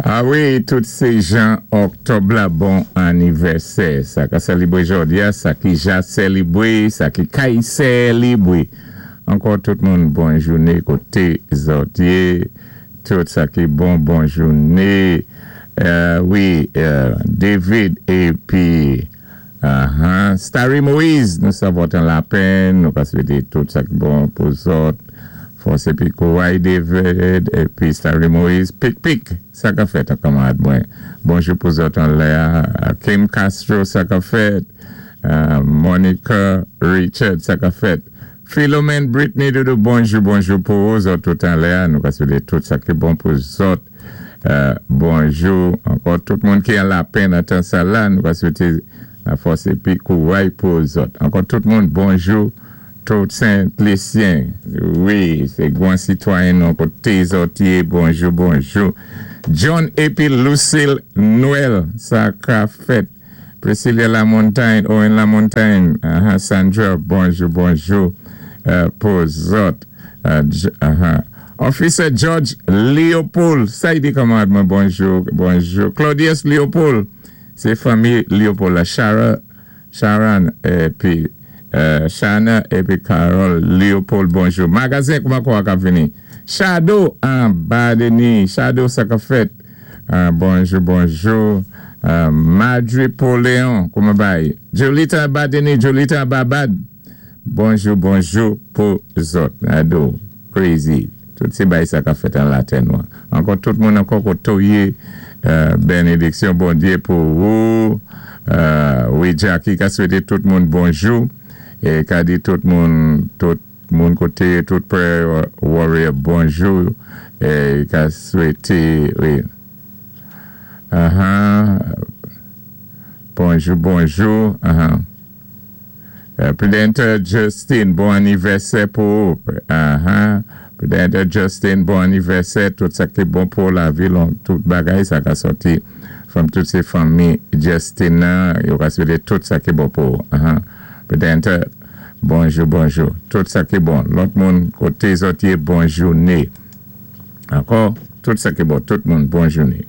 A wi, tout sé jan Òktòb la, bon anivèsè. Sa ka sélibwé jòdi-a, sa ki ja sélibwé, sa ki kay sélibwé. Ankò tout moun bon jouné koté zòt yé. Tout sa ki bon, bon jouné. Wi, David épi Starry Moise, nou sòt an Lapenn, nou ka swété tout sa ki bon pou zòt. Fòs épi kouray, David épi Starry Moise. Pik pik, sa ka fèt an kanmarad mwen. Bonjou pou zòt an lè. Kim Castro, sa ka fèt. Monica Richard, sa ka fèt. Philomène Britney Doudou, bonjou, bonjou pou zòt tout an lè. Nou ka swété tout sa ki bon pou zòt. Bonjou ankò tout moun ki an Lapenn an tan sa la, nou ka swété la fòs épi kouray pou zòt. Ankò tout moun bonjou. Tout Sent-Lisyen, wi, sé gwan sitwayen nou koté zòt yé, bonjou, bonjou. John épi Lucille Noël, sa ka fèt. Priscilla Lamontagne, Owen Lamontagne, Sandra, bonjou, bonjou pou zòt. Officer George Leopold, sa i di kanmarad mwen, bonjou, bonjou. Claudius Leopold, sé fanmi Leopold la, Chara, Sharon épi Shana épi Carol Leopold, bonjou. Magazen kouman kwa ka vini? Shadow anba Denis, Shadow, sa ka fèt. Bonjou, bonjou. Madri Poléon, kouman bay? Jolita anba Denis, Jolita anba Bad. Bonjou, bonjou pou zòt. Ado, crazy. Tout sé bay sa ka fèt an latè nou. Ankò tout moun ankò koté ou yé. Bénédiksyon Bondyé pou ou. Wi, Jackie ka swété tout moun bonjou. É ka di tout moun, tout moun koté, tout prayer warrior bonjou. É ka swété, wi. Bonjou, bonjou. Prudenter Justin, bon anivèsè pou ou. Prudenter Justin, bon anivèsè. Tout sa ki bon pou lavi, tout bagay sa ka sòti. From tout sé fanmi Justin, yo ka swété tout sa ki bon pou ou. Prudenter, bonjou, bonjou. Tout sa ki bon. Lòt moun, koté zòt yé, bon jouné. Ankò, tout sa ki bon, tout moun, bon jouné.